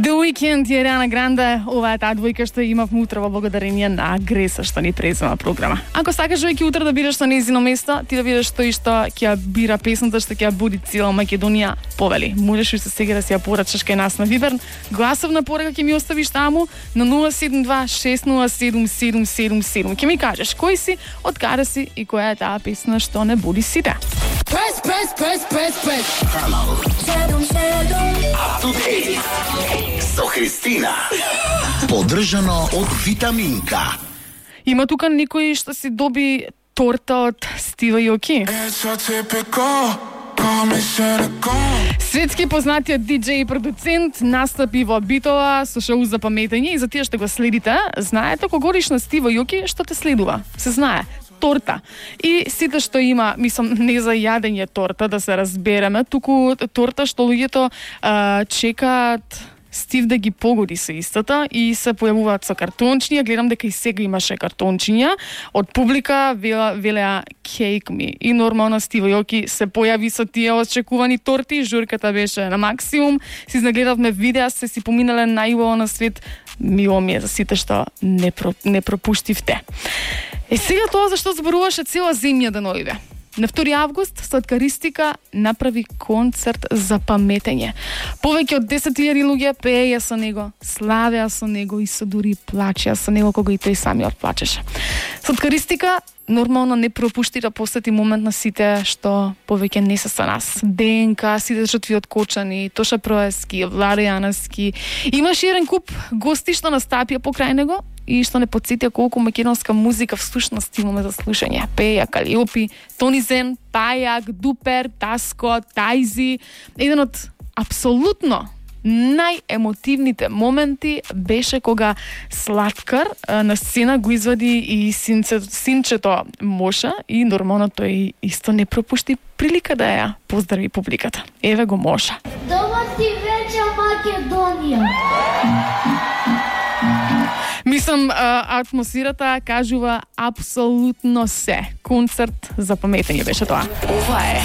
The Weeknd и Ариана Гранде, ова е таа двојка што имавме утре во благодарение на Греса што ни презема програма. Ако сакаш веќе утре да бидеш на нејзино место, ти да видиш тој што ќе ја бира песната што ќе ја буди цела Македонија, повели. Можеш и сега да си ја порачаш кај нас на Вибер. Гласовна порака ќе ми оставиш таму на 072-607-777. Ќе ми кажеш кој си, од каде си и која е таа песна што не буди сите. Press. Up to date со Христина. Поддржано од Витаминка. Има тука некој што си доби торта од Стива Јоки. Светски познатиот диџеј и продуцент настапи во битова со шоу за паметење и за тие што го следите, знаете кога говориш на Стива Јоки, што те следува? Се знае. Торта. И сите што има, мислам, не за јадење торта, да се разбереме, туку торта што луѓето чекаат Стив да ги погоди со истата и се појавуваат со картончиња. Гледам дека и сега имаше картончиња од публика, велеа Cake Me. И нормално Стива Јоки се појави со тие очекувани торти, журката беше на максимум. Си нагледавме видеа, се си поминале најубаво на свет. Мило ми е за сите што не пропуштивте. Сега тоа зашто зборуваше цела земја да дојде. На 2 август Сладкаристика направи концерт за паметење. Повеќе од 10.000 луѓе пееја со него, славеа со него и се дури плачеа со него кога и тој самиот плачеше. Сладкаристика нормално не пропушти да посети момент на сите што повеќе не се со нас. ДНК, сите жртви од Кочани, Тоша Проески, Влади Јаневски. Имаше еден куп гости што настапија покрај него и што не подсетија колку македонска музика всушност имаме за слушање. Пеја Калиопи, Тони Зен, Пајак, Дупер, Таско, Тајзи. Еден од апсолутно најемотивните моменти беше кога Сладкар на сцена го извади и синчето Моша и нормално тој исто не пропушти прилика да ја поздрави публиката. Еве го Моша. Добар ти вечер, Македонија! Мислам, атмосферата кажува апсолутно се. Концерт за паметење беше тоа. Ова е